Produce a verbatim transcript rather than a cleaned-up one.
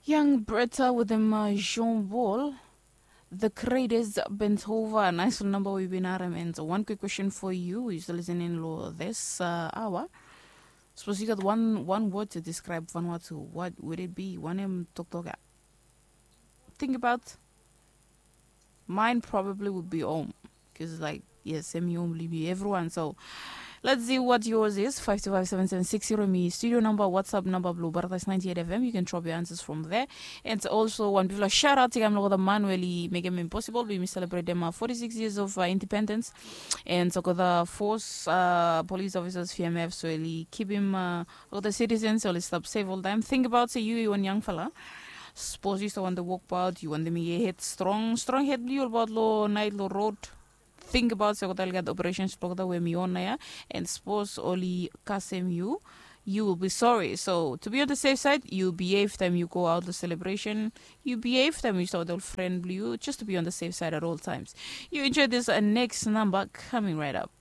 Yang Bretta with them uh, Jean Paul. The greatest bent over. Nice number we've been at him. And one quick question for you. Is listening lo this uh, hour. Suppose you got one one word to describe Vanuatu. What would it be? One em talk talk. Think about mine probably would be home. Because like yes, em home libi everyone. So let's see what yours is. Five two five seven seven six zero me studio number, WhatsApp number blue Baratas ninety-eight F M. You can drop your answers from there. And also one before shout out to Gamlo the man really make him impossible. We celebrate them uh, forty-six years of uh, independence. And so the force uh, police officers F M F so really keep him uh, all the citizens so let's stop safe all time. Think about say you one young fella. Suppose you still want to walk about, you want them to head strong, strong head blue about low night low road. Think about se kota ligat operations blok da we mi on ya. And suppose oli kasem you, you will be sorry. So to be on the safe side, you behave time you go out the celebration. You behave time you saw the friend blue, just to be on the safe side at all times. You enjoy this uh, next number coming right up.